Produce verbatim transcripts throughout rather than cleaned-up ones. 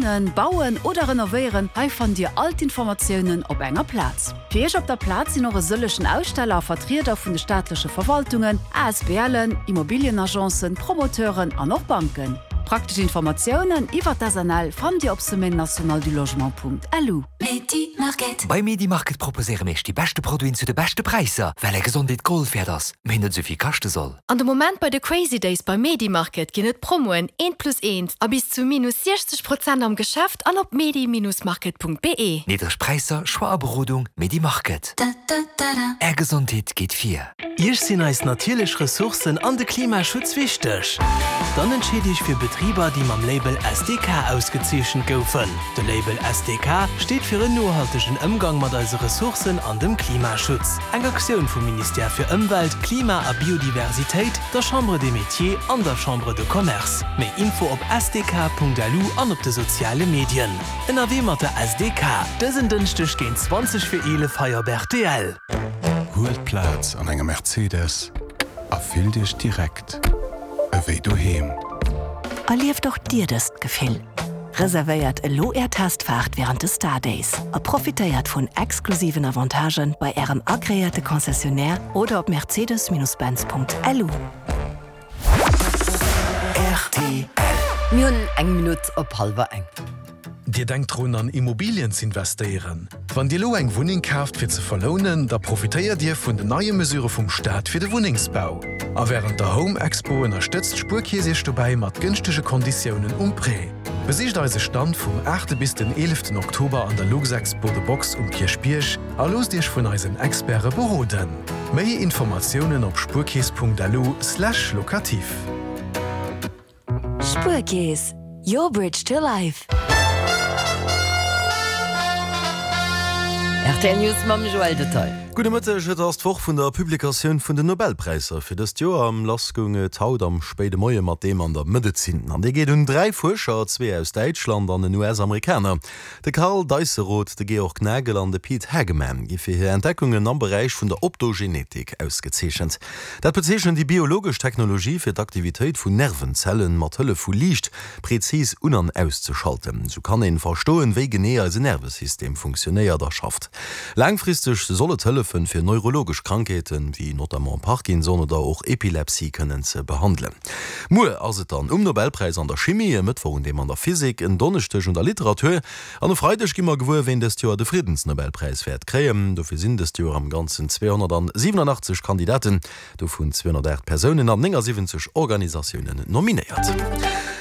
Wunnen, bauen oder renovéieren, hei fannt Dir all d'Informatiounen op enger Plaz. Fir Iech op der Plaz sinn och e sëllegen Aussteller a Vertrieder vun de staatleche Verwaltungen, ASBLen, Immobilienagencen, Promoteuren an och Banken. Praktesch Informatiounen iwwer d'SNL fannt Dir op semaine-nationale-du-logement.lu. Bei Medimarket proposéiere mir iech déi beschte Produiten zu de beschte Präisser, well är Gesondheet Gold wäert ass, mee net esou vill kaschte soll. An de Moment bei de Crazy Days bei Medimarket ginn et Promoen eent plus eent a bis zu minus siechzeg Prozent am Geschäft an op medi-market.be. Niddreg Präisser, Choix a Berodung, Medimarket. Är Gesondheet geet vir. Iech sinn eis natierlech Ressourcen an de Klimaschutz wichteg? Dann entscheet Iech fir Betriber, déi mam Label S D K ausgezeechent goufen. De Label S D K steet fir en nohaltegen Ëmgang mat eise Ressourcen an dem Klimaschutz. Eng Aktioun vum Ministère fir Ëmwelt, Klima a Biodiversitéit, der Chambre des Métiers an der Chambre de Commerce. Méi Info op S D K Punkt L U an op de soziale Medien. Ënnerwee mat der S D K, dësen Dënschdeg géint zwanzeg vir eelef hei op R T L. Huelt Plaz an engem Mercedes a fillt Iech direkt ewéi doheem. Erlieft och Dir dëst Gefill. Reservéiert elo Är Testfaart wärend de Star Days a profitéiert vun exklusiven Avantagen bei Ärem agreéierte Concessionnaire oder op mercedes-benz Punkt L U. R T L. Mir hunn eng Minutt op hallwer eng. Dir denkt drun an Immobilien z'investéieren? Wann Dir elo eng Wunneng kaaft fir ze verlounen, da profitéiert Dir vun den neie Mesure vum Staat fir de Wunnengsbau. A wärend der Home Expo ënnerstëtzt d'Spuerkeess Iech dobäi mat gënschtege Konditiounen um Prêt. Besicht eise Stand vum aachte bis den eeleften Oktober an der Luxexpo The Box um Kierchbierg a loosst Iech vun eisen Experte beroden. Méi Informatiounen op spuerkeess Punkt lu slash locatif. Spuerkeess, your bridge to life. R T L News mam Joël Detail. Gudde Mëtteg, Et ass d'Woch vun der Publikatioun vun den Nobelpräisser fir dëst Joer. Lass goung et haut am spéide Moie mat deem an der Medezin. An dee geet un dräi Fuerscher, zwee aus Däitschland an en U S-Amerikaner. De Karl Deisseroth, de Georg Nagel an de Pete Hageman gi fir hir Entdeckungen am Beräich vun der Optogenetik ausgezeechent. Dat bezeechent déi biologesch Technologie fir d'Aktivitéit vun Nervenzellen mat Hëllef vu Liicht prezis un an auszeschalten. Sou kann een verstoen, wéi genee eise Nervesystem funktionéiert a schafft. Laangfristeg soll et hëllefen, fir neurologesch Krankheeten, wéi notamment Parkinson oder och Epilepsie kënnen ze behandelen. Muer ass et dann um Nobelpräis an der Chimie, e Mëttwoch un deem an der Physik, en Donneschdeg un der Literatur an e Freideg gi mer gewuer, ween dëst Joer de Friddensnobelpräis wäert kréien. Dofir sinn dëst Joer am Ganzen zweehonnertsiwwenunachtzeg Kandidaten, dovun zweehonnertaacht Persounen an néngasiwwenzeg Organisatiounen nominéiert.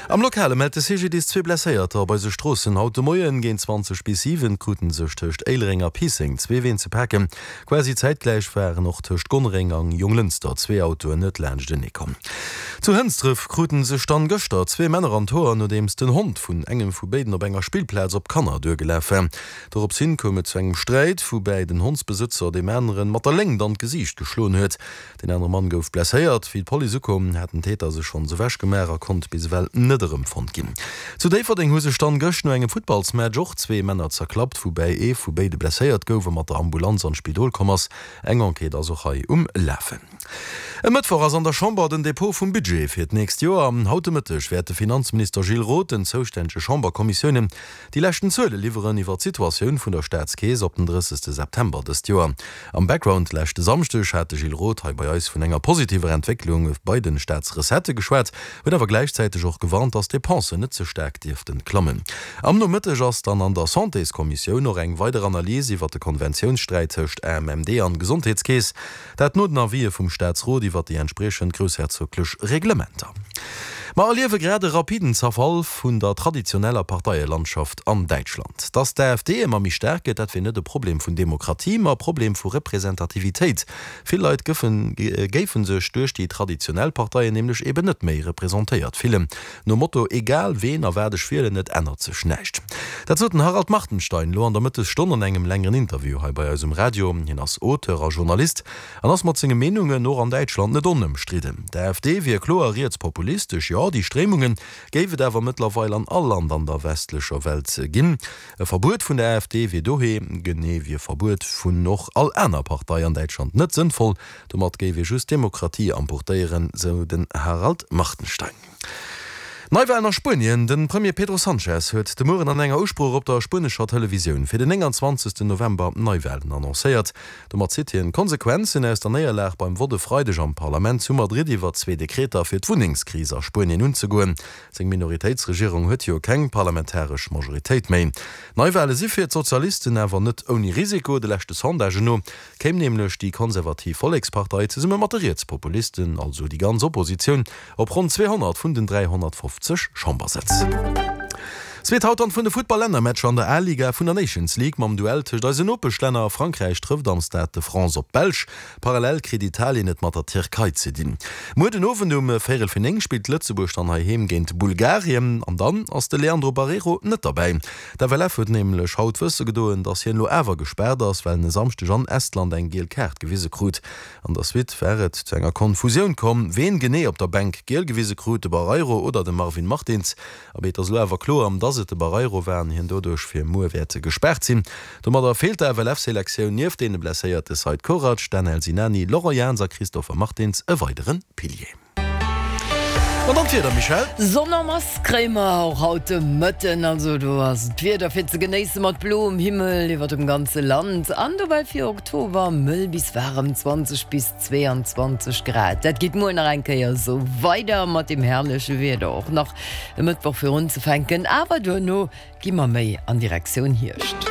Am Lokale mellt de C G D I S zwee Blesséierter op eise Stroossen. Haut de Moien géint zwanzeg bis siwen kruten sech tëscht Éilereng a Piisseng zwee Ween ze paken. Quasi zäitgläich waren och tëscht Gonnereng an Jonglënster zwee Autoen net laanschtenee komm. Zu Hënsdref kruten sech dann gëschter zwee Männer an d'Hoer, nodeems den Hond vun engem vu béiden op enger Spillplaz op Kanner duergelaf war. Dorops hin koum et zu engem Sträit, woubäi den Hondsbesëtzer deem aneren mat der Léngt an d'Gesiicht geschloen huet. Den anere Mann gouf blesséiert. Wéi d'Police ukoum, hat den Täter sech schonns ewech gemaach a konnt bis ewell net erëmfonnt ginn. Zu Déifferdeng hu sech dann gëscht no engem Futtballsmatch och zwee Männer zerklappt, woubäi ee vu béide blesséiert gouf a mat der Ambulanz an d'Spidol komm ass. Eng Enquête ass och hei um Lafen. E Mëttwoch ass an der Chamber den Depot vum Budget fir d'nächst Joer. Haut de Mëtteg wäert de Finanzminister Gilles Roth den zoustännege Chamberkommissiounen déi leschten Zuele liwweren iwwer d'Situatioun vun der Staatskeess op den drëssegste September dëst Joer. Am Background, Leschte Samschdeg hat de Gilles Roth hei bei eis vun enger positiver Entwécklung bei den Staatsrecettë geschwat, huet awer gläichzäiteg och gewarnt, datt d'Depensen net ze staark dierften klammen. Am Nomëtteg ass dann an der Santéskommissioun och eng weider Analys iwwer de Konventiounssträit tëscht A M M D an Gesondheetskeess, dat no den Avisë vum Staatsrot iwwer déi entspriechend groussherzoglech Reglementer. Mer erliewe grad e rapiden Zerfall vun der traditioneller Parteielandschaft an Däitschland. Datt d'AfD ëmmer méi staark gëtt, dat wier net e Problem vun Demokratie, ma e Problem vu Representativitéit. Vill Leit gëffen, géife sech duerch déi traditionell Parteien nämlech eben net méi representéiert fillen. Nom Motto, Egal ween a wat ech wielen, et ännert sech näischt. Dat sot den Harald Martenstein elo an der Mëttesstonn an engem längeren Interview hei bei eis um Radio. Hien ass Auteur a Journalist an ass mat senge Meenungen och an Däitschland net onëmstridden. D'AfD wier kloer rietspopulistesch, jo, déi Stréimungen géif et awer mëttlerweil an all Land an der westlecher Welt ginn. E Verbuet vun der AfD wier dohier, genee wéi e Verbuet vun och all aner Partei an Däitschland, net sënnvoll. Domat géif ee just d'Demokratie amputéieren, sou den Harald Martenstein. Neiwalen a Spuenien, De Premier Pedro Sanchez huet de Mueren an enger Usprooch op der spuenescher Televisioun fir den nénganzwanzegsten November Neiwalen annoncéiert. Domat zitt hien d'Konsequenzen aus der Néierlag beim Vott e Freideg am Parlament zu Madrid iwwer zwee Dekreter fir d'Wunnengskris a Spuenien unzegoen. Seng Minoritéitsregierung huet jo keng parlamentaresch Majoritéit méi. Neiwale si fir d'Sozialisten awer net ouni Risiko. De leschte Sondagen no kéim nämlech déi konservativ Vollekspartei zesumme mat de Rietspopulisten, also déi ganz Oppositioun, op ronn zweehonnert vun den dräihonnertfofzeg Chambersëtz. Zweet haut dann vun de Futtball-Lännermatcher an der A-Liga vun der Nations League mam Duell tëscht eisen Nopeschlänner. Frankräich trëfft am Stade de France op d'Belsch. Parallel kritt Italien et mat der Tierkei ze dinn. Muer den Owend um véierel fir néng spillt Lëtzebuerg dann heiheem géint Bulgarien. An dann ass de Leandro Barreiro net derbäi. D'F L F huet nämlech haut wësse gedoen, dass hien elo awer gespaart ass, well en e Samschdeg an Estland eng giel Kaart gewise krut. An der Suite war et zu enger Konfusioun komm, ween genee op der Bänk giel gewise krut, de Barreiro oder de Marvin Martins. Abee, et ass elo awer kloer, dass et de Barreiro war an hien doduerch fir muer wäert gespaart sinn. Domadder feelt der F L F-Selektioun nieft deene blesséierte Seid Korac, Danel Sinani, Laurent Jans a Christopher Martins e weidere Pilier. An dann d'Wieder, Michèle? Sonn en masse kréie mer och haut de Mëtten, also do ass d'Wieder fir ze genéisse mat bloem Himmel iwwer dem ganze Land an dobäi fir Oktober mëll bis waarem zwanzeg bis zweeanzwanzeg Grad. Dat geet muer nach eng Kéier esou weider mat dem herrleche Wieder, och nach e Mëttwoch fir unzefänken, awer duerno gi mer méi an Direktioun Hierscht.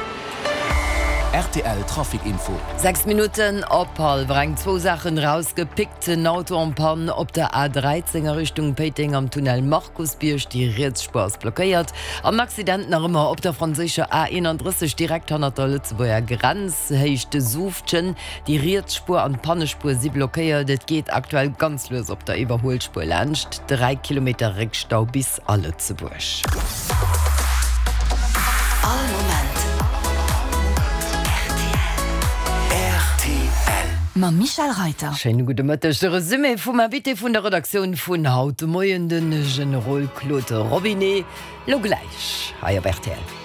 R T L Trafic Info. Sechs Minutten op hallwer eng, zwou Saachen erausgepickt, En Auto en panne op der A dräizéng a Richtung Péiteng am Tunnel Markusbierg, déi riets Spuer ass blockéiert. An Accident nach ëmmer op der franséischer A eenandrësseg direkt hannert der Lëtzebuerger Grenz, Héicht Suuftgen, déi riets Spuer an d'Pannespuer si blockéiert. Et geet aktuell ganz lues op der Iwwerhuelspuer laanscht, dräi Kilometer Réckstau bis a Lëtzebuerg. All Moment R T L. Mam Michèle Reiter. Schéine gudde Mëtteg. De Resumé vum Invité vun der Redaktioun vun haut de Moien, de Generol Claude Robinet, lo gläich hei op R T L.